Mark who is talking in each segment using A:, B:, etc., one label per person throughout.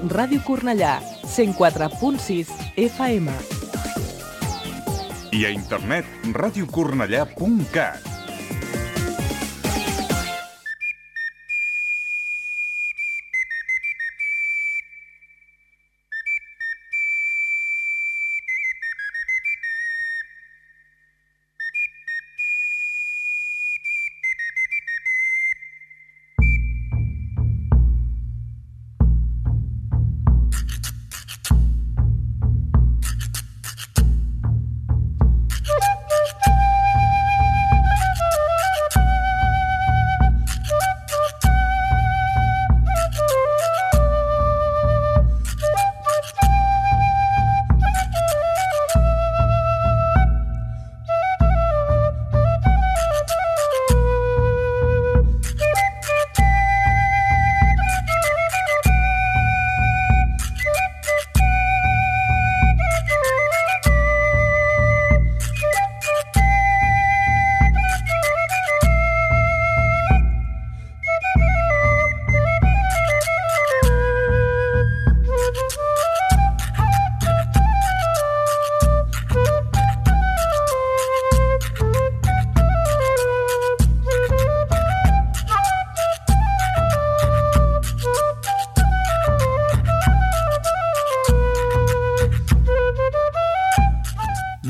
A: Ràdio Cornellà, 104.6 FM.
B: I a internet, radiocornellà.cat.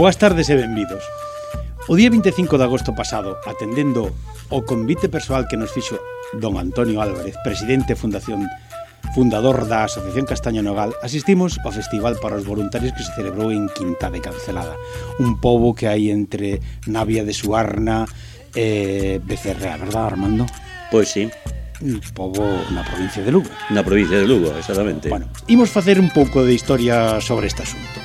C: Boas tardes e benvidos. O día 25 de agosto pasado, atendendo o convite persoal que nos fixo don Antonio Álvarez, presidente e fundador da Asociación Castaño Nogal, asistimos ao festival para os voluntarios que se celebrou en Quintá de Cancelada, un pobo que hai entre Navia de Suarna e Becerrea, verdad, Armando?
D: Pois sí.
C: Un pobo na provincia de Lugo.
D: Na provincia de Lugo, exactamente.
C: Bueno, imos facer un pouco de historia sobre este asunto.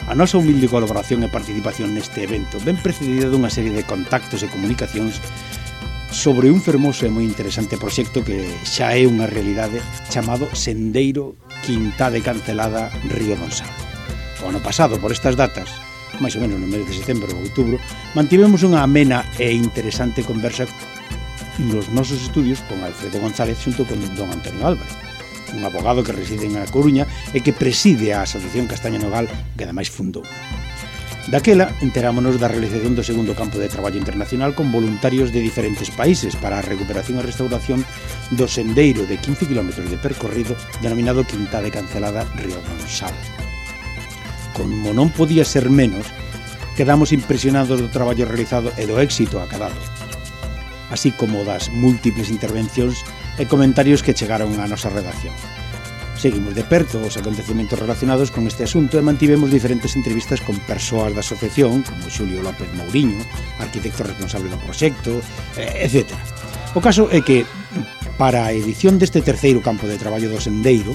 C: A nosa humilde colaboración e participación neste evento ven precedida dunha serie de contactos e comunicacións sobre un fermoso e moi interesante proxecto que xa é unha realidade chamado Sendeiro Quintá de Cancelada Río Donsal. O ano pasado, por estas datas, máis ou menos no mes de setembro ou outubro, mantivemos unha amena e interesante conversa nos nosos estudios con Alfredo González xunto con don Antonio Álvarez, un abogado que reside en A Coruña e que preside a Asociación Castaño Nogal, que ademais fundou. Daquela, enterámonos da realización do segundo campo de traballo internacional con voluntarios de diferentes países para a recuperación e restauración do sendeiro de 15 km de percorrido denominado Quintá de Cancelada Río Donsal. Como non podía ser menos, quedamos impresionados do traballo realizado e do éxito acadado, así como das múltiples intervencións e comentarios que chegaron á nosa redacción. Seguimos de perto os acontecementos relacionados con este asunto e mantivemos diferentes entrevistas con persoas da asociación, como Xulio López Mouriño, arquitecto responsable do proxecto, etc. O caso é que, para a edición deste terceiro campo de traballo do Sendeiro,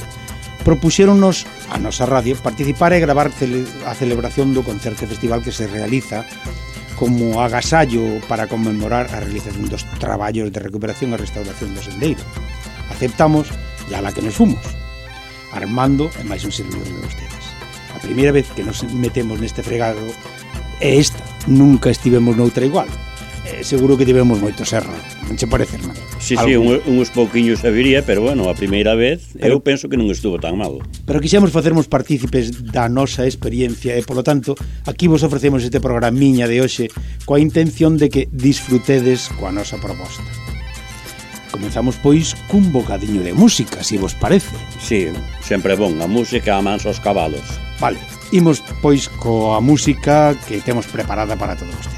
C: propuxéronnos a nosa radio participar e gravar a celebración do concerto festival que se realiza como agasallo para conmemorar a realización dos traballos de recuperación e restauración do sendeiro. Aceptamos e ala que nos fomos. Armando e máis un servidor de vostedes. A primeira vez que nos metemos neste fregado é esta. Nunca estivemos noutra igual. Seguro que tivemos moitos erros. Non che parece, Armando?
D: Sí, uns pouquiños sabería, pero bueno, a primeira vez eu penso que non estuvo tan mal.
C: Pero quixemos facermos partícipes da nosa experiencia e, polo tanto, aquí vos ofrecemos este programiña de hoxe coa intención de que disfrutedes coa nosa proposta. Comenzamos, pois, cun bocadiño de música, se vos parece.
D: Sí, sempre bon, a música amansa os cabalos.
C: Vale, imos, pois, coa música que temos preparada para todos vostedes.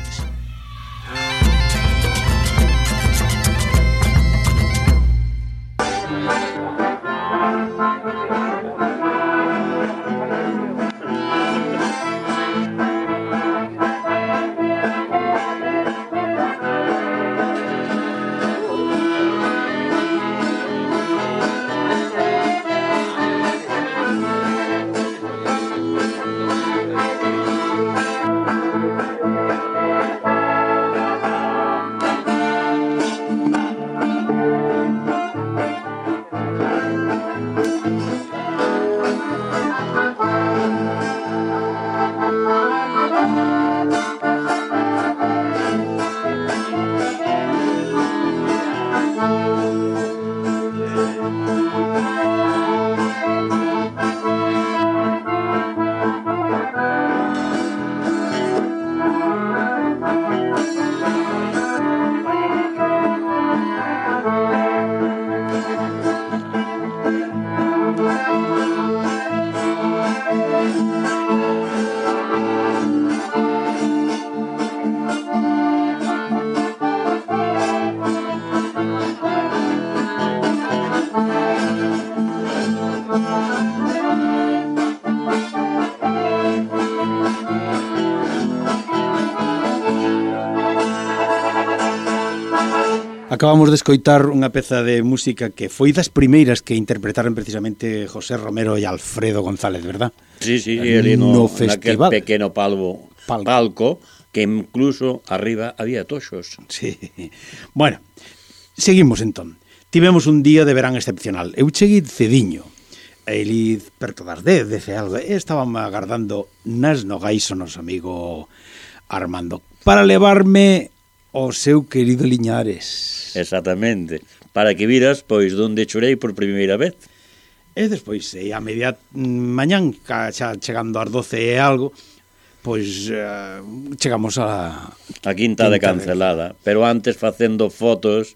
C: Acabamos de escoitar unha peza de música que foi das primeiras que interpretaron precisamente José Romero e Alfredo González, verdad?
D: Sí, ali no
C: festival.
D: Naquel pequeno palco, que incluso arriba había toxos.
C: Sí. Bueno, seguimos entón. Tivemos un día de verán excepcional. Eu cheguei cediño. Eli perto das 10, algo. Estábamos agardando nas nogais o noso amigo Armando para levarme o seu querido Liñares.
D: Exactamente. Para que viras, pois, donde chorei por primeira vez.
C: E despois, a media mañán, xa chegando ás 12 e algo, pois chegamos a
D: Quinta de Cancelada. Pero antes facendo fotos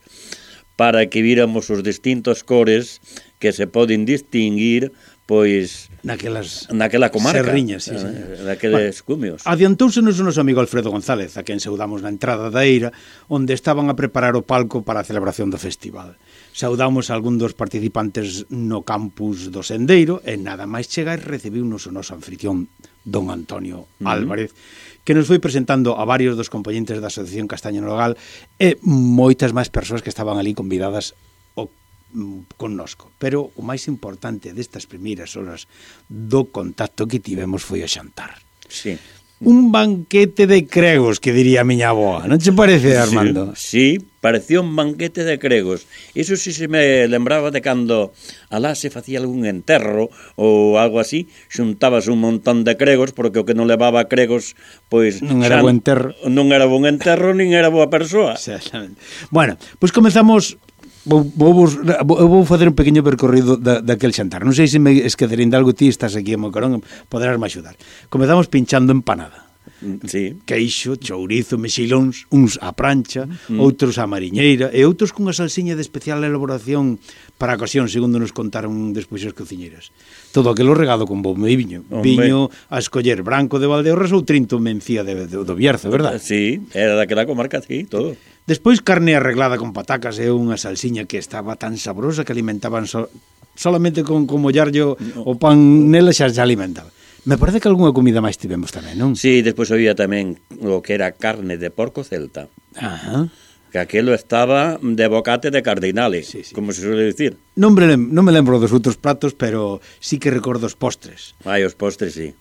D: para que víramos os distintos cores que se poden distinguir, pois, naquela comarca,
C: serriñas, sí.
D: Naqueles cumios.
C: Adiantousenos o noso amigo Alfredo González, a quen saudamos na entrada da eira, onde estaban a preparar o palco para a celebración do festival. Saudamos a algún dos participantes no campus do Sendeiro e nada máis chegar recibiunos o noso anfitrión don Antonio Álvarez, que nos foi presentando a varios dos componentes da Asociación Castaño Nogal e moitas máis persoas que estaban ali convidadas connosco, pero o máis importante destas primeiras horas do contacto que tivemos foi o xantar.
D: Sí.
C: Un banquete de cregos, que diría a miña avoa, non te parece, Armando?
D: Sí, parecía un banquete de cregos. Iso sí se me lembraba de cando alá se facía algún enterro ou algo así, xuntabas un montón de cregos, porque o que non levaba cregos, pois
C: non era bo enterro.
D: Non era bon enterro, nin era boa persoa.
C: Exactamente. Bueno, pois comezamos. Vou facer un pequeno percorrido daquel xantar. Non sei se me esquecerei de algo, ti estás aquí a Mocarón, poderás me axudar. Comezamos pinchando empanada.
D: Sí.
C: Queixo, chourizo, mexilóns, uns á prancha, outros á mariñeira e outros cunha salsiña de especial elaboración para a ocasión, segundo nos contaron despois as cociñeiras. Todo aquilo regado con bom e viño. Viño a escoller branco de Valdeorras ou Trinto Mencía do Bierzo, verdad?
D: Sí, era daquela comarca, sí, todo.
C: Despois carne arreglada con patacas e unha salsiña que estaba tan sabrosa que alimentaban solamente con mollarlle o pan nela xa se alimentaba. Me parece que algunha comida máis tivemos tamén, non?
D: Sí, despois había tamén o que era carne de porco celta.
C: Ajá.
D: Que aquilo estaba de bocate de cardinale, sí. Como se suele dicir.
C: Non me lembro dos outros pratos, pero sí que recordo os postres.
D: Os postres, sí.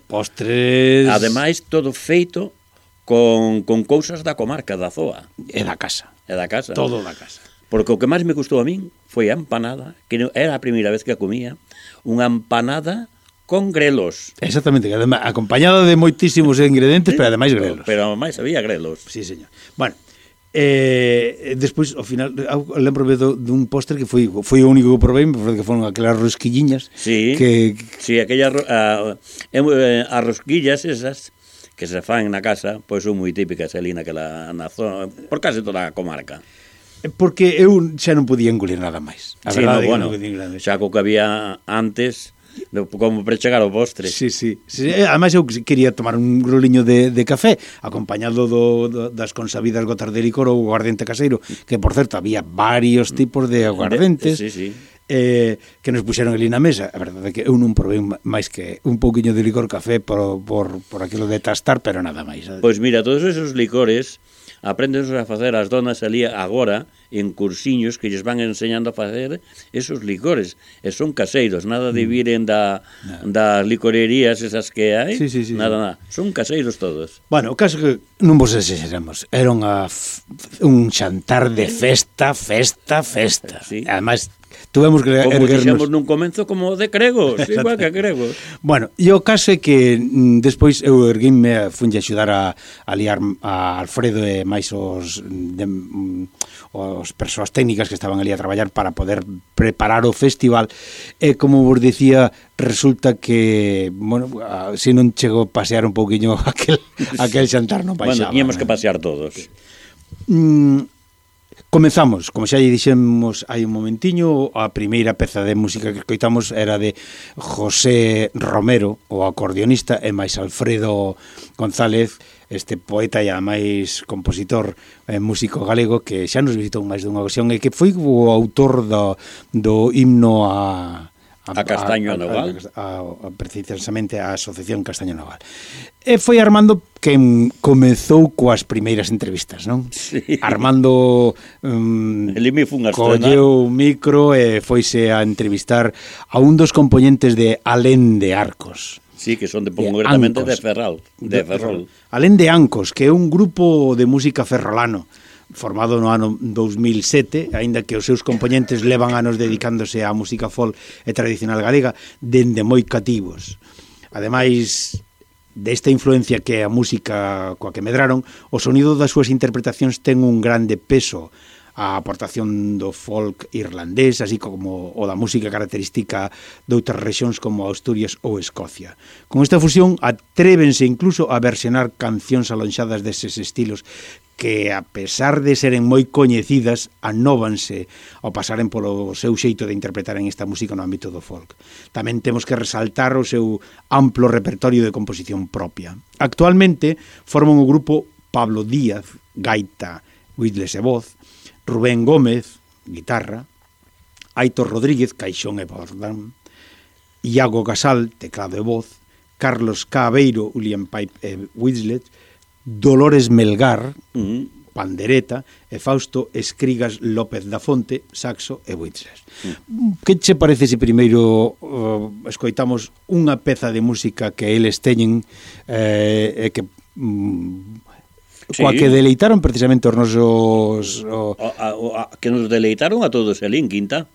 C: Postres...
D: Ademais, todo feito con cousas da comarca, da zoa.
C: E da casa.
D: Todo da casa. Porque o que máis me gustou a min foi a empanada, que era a primeira vez que a comía, unha empanada con grelos.
C: Exactamente, acompañada de moitísimos ingredientes, pero ademais grelos.
D: Pero ademais había grelos.
C: Sí, señor. Bueno, despois, ao final, lembro-me dun postre que foi o único que provei, que foron aquelas rosquilliñas.
D: Sí, sí, aquellas as rosquillas esas que se fan na casa, pois son moi típicas ali na zona, por case toda a comarca.
C: Porque eu xa non podía engolir nada máis. A verdade,
D: bueno, xa co que había antes, como para chegar ao postre.
C: Sí. Ademais eu quería tomar un groliño de café acompañado das consabidas gotas de licor ou aguardente caseiro, que por certo había varios tipos de aguardentes.
D: Sí.
C: Que nos puxeron ali na mesa. A verdade é que eu non provei máis que un pouquiño de licor café por aquilo de tastar, pero nada máis.
D: Pois mira, todos esos licores aprendense a facer as donas ali agora en cursiños que lles van enseñando a facer esos licores, e son caseiros, nada de viren das licorerías esas que hai.
C: Sí.
D: Nada, son caseiros todos.
C: Bueno, o caso que non vos exageramos, era un xantar de festa.
D: Sí.
C: Ademais, tuvemos que
D: como dixemos nun comenzo como de cregos, igual que cregos. Bueno,
C: e o caso é que despois eu erguinme, funlle axudar a liar a Alfredo e máis os persoas técnicas que estaban ali a traballar para poder preparar o festival, e como vos dicía, resulta que, bueno, se non chegou a pasear un pouquiño aquel xantar non baixaba.
D: Bueno, tiñamos que pasear todos.
C: Comezamos, como xa lle dixemos hai un momentiño, a primeira peza de música que escoitamos era de José Romero, o acordeonista, e máis Alfredo González, este poeta e máis compositor e músico galego que xa nos visitou máis dunha ocasión e que foi o autor do himno a
D: A Castaño Noval.
C: Precisamente a Asociación Castaño Noval. E foi Armando quen comezou coas primeiras entrevistas, non?
D: Sí.
C: Armando
D: Elime fun a
C: colleu o micro e foise a entrevistar a un dos componentes de Alén de Arcos.
D: Sí, que son concretamente de Ferrol.
C: Alén de Ancos, que é un grupo de música ferrolano formado no ano 2007, aínda que os seus componentes levan anos dedicándose á música folk e tradicional galega dende moi cativos. Ademais desta influencia que é a música coa que medraron, o sonido das súas interpretacións ten un grande peso a aportación do folk irlandés, así como o da música característica de outras rexións como Asturias ou Escocia. Con esta fusión atrévense incluso a versionar cancións alonxadas deses estilos que, a pesar de seren moi coñecidas, anóvanse ao pasaren polo seu xeito de interpretar en esta música no ámbito do folk. Tamén temos que resaltar o seu amplo repertorio de composición propia. Actualmente forman o grupo Pablo Díaz, gaita, whistles e voz, Rubén Gómez, guitarra, Aitor Rodríguez, caixón e bordán, Iago Casal, teclado e voz, Carlos Cabeiro, ulian pipe e whistlet, Dolores Melgar, pandereta, e Fausto Escrigas López da Fonte, saxo e whistles. Que che parece se primeiro escoitamos unha peza de música que eles teñen e que coa que deleitaron precisamente os nosos
D: que nos deleitaron a todos ali en Quinta.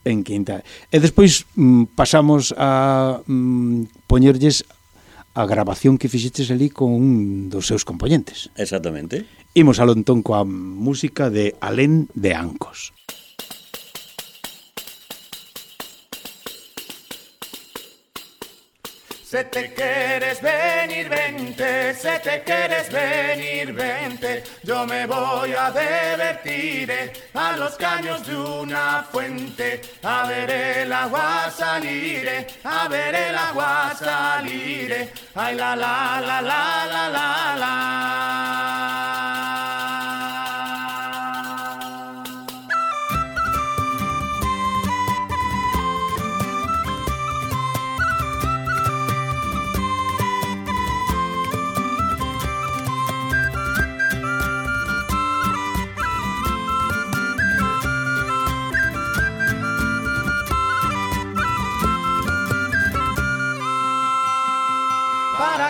C: E despois pasamos a poñerlles a grabación que fixeches ali con un dos seus componentes.
D: Exactamente.
C: Imos ao entón coa música de Alén de Ancos.
E: Se te quieres venir, vente, se te quieres venir, vente. Yo me voy a divertir a los caños de una fuente, a ver el agua salir, a ver el agua salir. Ay, la, la, la, la, la, la, la.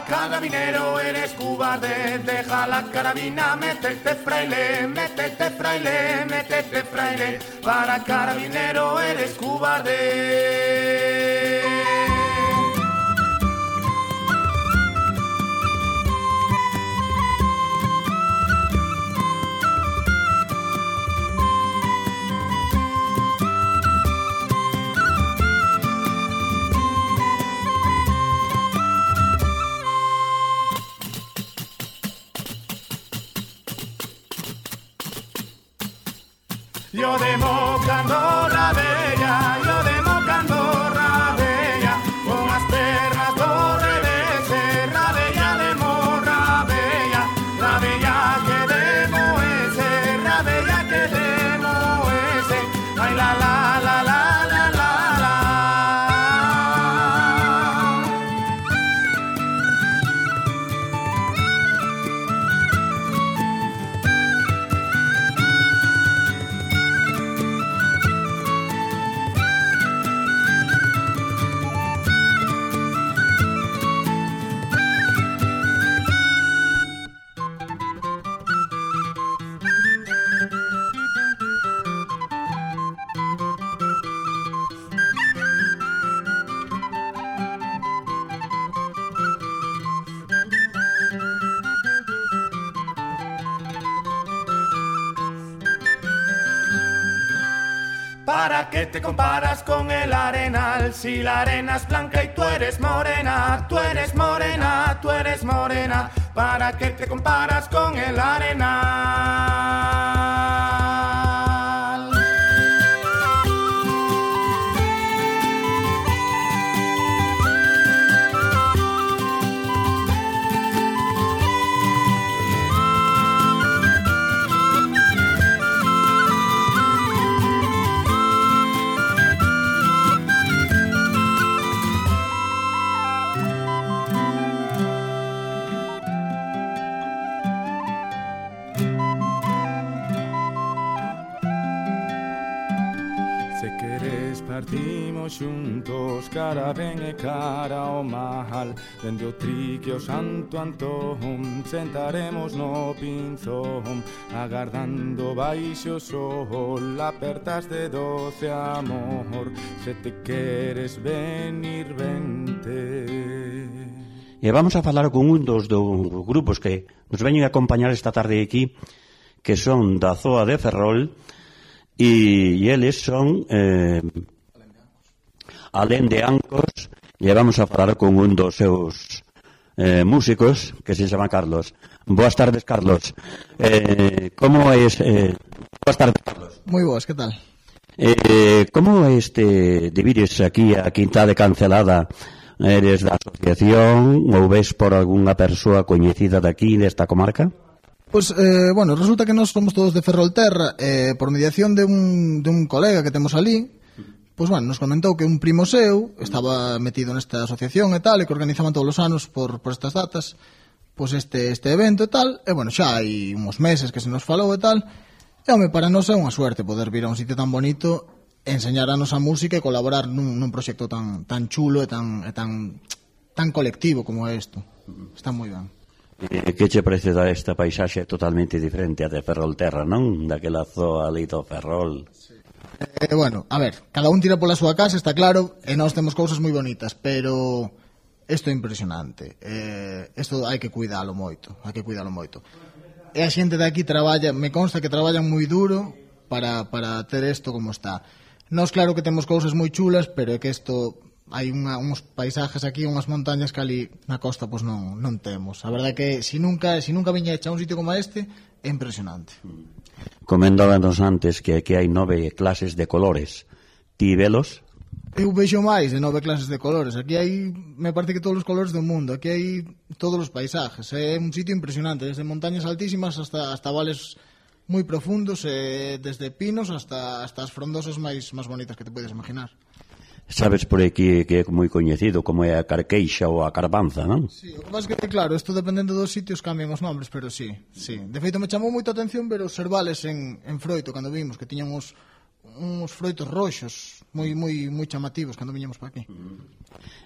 E: Carabinero eres cobarde, deja la carabina, métete fraile, métete fraile, métete fraile. Para carabinero eres cobarde. Yo democando la bella, yo democando la bella, con las pernas do revés, la bella demo, la bella que demo ese, la bella que demo ese, ay la la la la la la la. ¿Para qué te comparas con el arenal? Si la arena es blanca y tú eres morena, tú eres morena, tú eres morena. ¿Para qué te comparas con el arenal? Se queres partimos xuntos, cara ben e cara ao mal. Dende o trique ao Santo Antón, sentaremos no pinzón, agardando baixo o sol, apertas de doce amor. Se te queres venir, vente.
D: E vamos a falar con un dos grupos que nos veñen a acompañar esta tarde aquí, que son da Zoa de Ferrol, e eles son Alén de Ancos, e vamos a falar con un dos seus músicos, que se chama Carlos. Boas tardes, Carlos. Como es... boas tardes, Carlos.
F: Moi boas, que tal?
D: Como de vires aquí a Quinta de Cancelada? Eres da asociación ou ves por algunha persoa coñecida daqui, desta comarca?
F: Pois, bueno, resulta que nós somos todos de Ferrolterra, por mediación de un colega que temos ali, pois, bueno, nos comentou que un primo seu estaba metido nesta asociación e tal, e que organizaban todos os anos por estas datas, pois este evento e tal, e, bueno, xa hai uns meses que se nos falou e tal, e, home, para nós é unha suerte poder vir a un sitio tan bonito, enseñar a nosa música e colaborar nun proxecto tan chulo e tan colectivo como é isto. Está moi ben.
D: Que che parece esta paisaxe totalmente diferente a de Ferrolterra, non? Daquela zoa ali do Ferrol.
F: Sí. Bueno, a ver, cada un tira pola súa casa, está claro, e nós temos cousas moi bonitas, pero isto é impresionante. Isto hai que cuidalo moito, E a xente de aquí traballa, me consta que traballan moi duro para ter isto como está. Nós claro que temos cousas moi chulas, pero é que isto... hai uns paisajes aquí, unhas montañas que ali na costa pois non temos. A verdade é que se nunca viña hecha un sitio como este, é impresionante.
D: Comentábanos antes que aquí hai 9 clases de colores. Ti velos?
F: Eu vexo máis de 9 clases de colores. Aquí hai, me parece que todos os colores do mundo. Aquí hai todos os paisajes. É un sitio impresionante, desde montañas altísimas hasta vales moi profundos, desde pinos hasta as frondosas máis bonitas que te podes imaginar.
D: Sabes por aquí que é moi coñecido como é a Carqueixa ou a Carbanza, non?
F: Sí, o que pasa é que, claro, isto dependendo dos sitios cambian os nombres, pero sí. De feito, me chamou moita atención ver os servales en froito, cando vimos, que tiñan uns froitos roxos moi chamativos cando viñamos para aquí.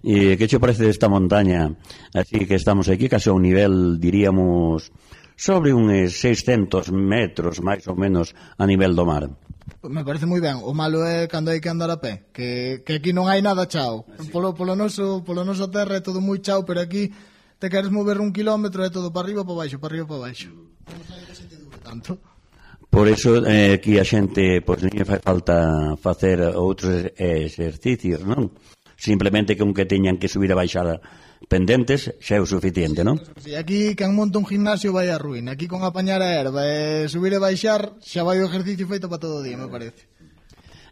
D: E que che parece desta montaña? Así que estamos aquí case a un nivel, diríamos, sobre uns 600 metros, máis ou menos, a nivel do mar.
F: Me parece moi ben. O malo é cando hai que andar a pé, que aquí non hai nada chao. Polo noso terra é todo moi chao, pero aquí te queres mover 1 kilómetro é todo para arriba, para baixo, para arriba, para baixo. Non hai que se te dure tanto.
D: Por iso aquí a xente pois non fai falta facer outros exercicios, non? Simplemente que un que teñan que subir e baixar pendentes xa é o suficiente, non?
F: Si, aquí quen monta un gimnasio vai a ruína. Aquí con apañar a erva e subir e baixar xa vai o ejercicio feito para todo o día, me parece.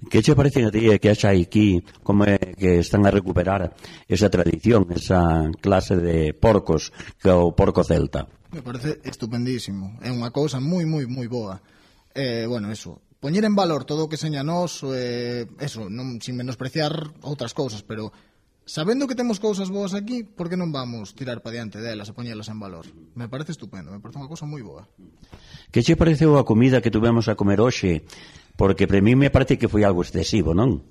D: Que che parece a ti que haxa aquí como é que están a recuperar esa tradición, esa clase de porcos que é o porco celta?
F: Me parece estupendísimo. É unha cousa moi boa. Bueno, eso, poñer en valor todo o que seña nos, eso, non, sin menospreciar outras cousas, pero sabendo que temos cousas boas aquí, por que non vamos tirar para diante delas e poñelas en valor? Me parece estupendo, me parece unha cousa moi boa.
D: Que che pareceu a comida que tuvemos a comer hoxe? Porque para mí me parece que foi algo excesivo, non?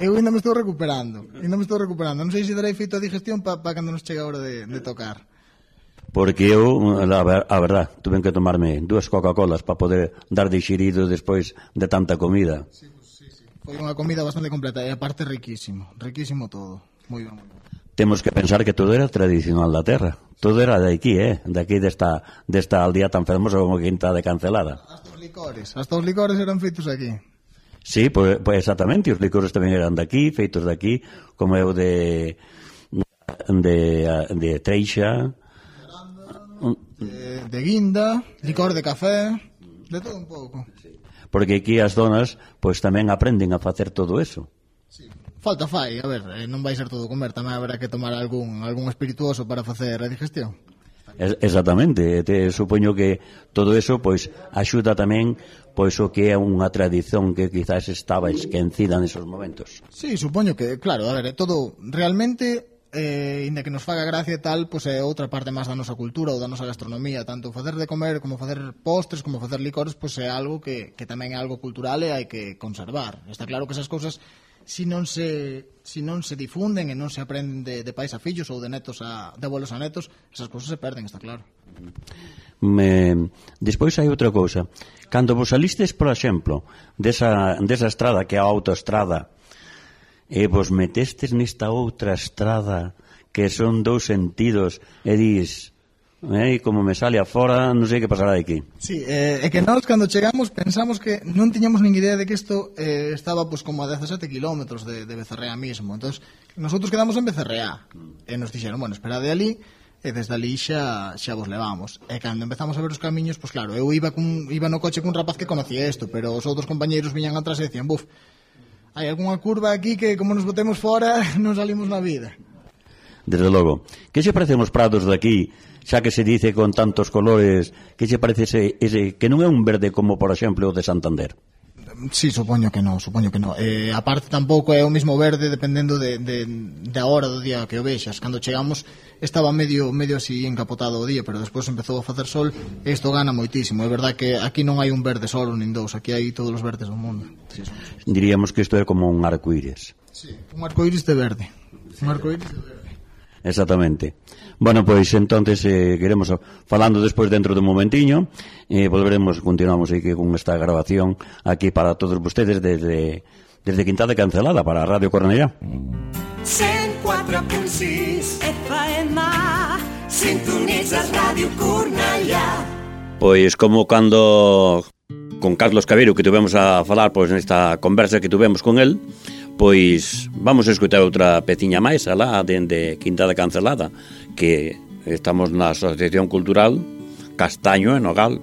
F: Eu ainda me estou recuperando. Non sei se darei feito a digestión para cando nos chega a hora de tocar.
D: Porque eu, a verdad, tuve que tomarme 2 Coca-Colas para poder dar digerido despois de tanta comida.
F: Sí. Foi unha comida bastante completa e aparte riquísimo todo, moi ben.
D: Temos que pensar que todo era tradicional da terra, todo era de aquí, de aquí desta aldea tan fermosa como Quinta de Cancelada.
F: Hasta os licores eran feitos aquí.
D: Sí, pues exactamente, os licores tamén eran de aquí, feitos de aquí, como é o de Treixa,
F: de guinda, licor de café, de todo un pouco.
D: Porque aquí as donas pois tamén aprenden a facer todo eso.
F: Sí. Falta fai, a ver, non vai ser todo comer, tamén haberá que tomar algún espirituoso para facer a digestión.
D: Exactamente, supoño que todo eso pois axuda tamén pois o que é unha tradición que quizás estaba esquecida nesos momentos.
F: Sí, supoño que, claro, a ver, todo realmente inda que nos faga gracia e tal, pois é outra parte máis da nosa cultura ou da nosa gastronomía, tanto facer de comer como facer postres, como facer licores, pois é algo que tamén é algo cultural e hai que conservar. Está claro que esas cousas si non se difunden e non se aprenden de pais a fillos ou de netos de abuelos a netos, esas cousas se perden, está claro.
D: Despois hai outra cousa. Cando vos salistes, por exemplo, desa estrada que é a autoestrada, e vos metestes nesta outra estrada que son dous sentidos e dis, como me sale afora, non sei que pasará aquí.
F: Sí, é que nós cando chegamos pensamos que non tiñamos nin idea de que isto estaba pues, como a 17 kilómetros de Becerrea mismo. Entón, nosotros quedamos en Becerrea e nos dixeron, bueno, esperade ali e desde ali xa vos levamos. E cando empezamos a ver os camiños, pues claro, eu iba no coche cun rapaz que conocía isto, pero os outros compañeiros viñan atrás e decían, buf, hai algunha curva aquí que como nos botemos fora non salimos na vida.
D: Desde logo. Que se parecen os prados de aquí, xa que se dice con tantos colores, que se parece ese que non é un verde como, por exemplo, o de Santander?
F: Sí, supoño que non. A parte tampouco é o mesmo verde dependendo da hora do día que o vexas. Cando chegamos estaba medio así encapotado o día, pero despois empezou a facer sol e isto gana moitísimo. É verdad que aquí non hai un verde solo nin dous, aquí hai todos os verdes do mundo. Sí,
D: diríamos que isto é como un arcoíris.
F: Sí, un arcoíris de verde. Un arcoíris de verde.
D: Exactamente. Bueno, pois entonces queremos falando despois dentro de un momentiño, continuamos aquí con esta grabación aquí para todos vostedes desde Quintada Cancelada para Radio Cornellá.
G: 104.6 FM sintonizas Radio Cornellá.
D: Pois como cando con Carlos Cabeiro que tivemos a falar pois nesta conversa que tivemos con el, pois vamos a escutar outra peciña máis alá dende Quintada Cancelada, que estamos na Asociación Cultural Castaño e Nogal.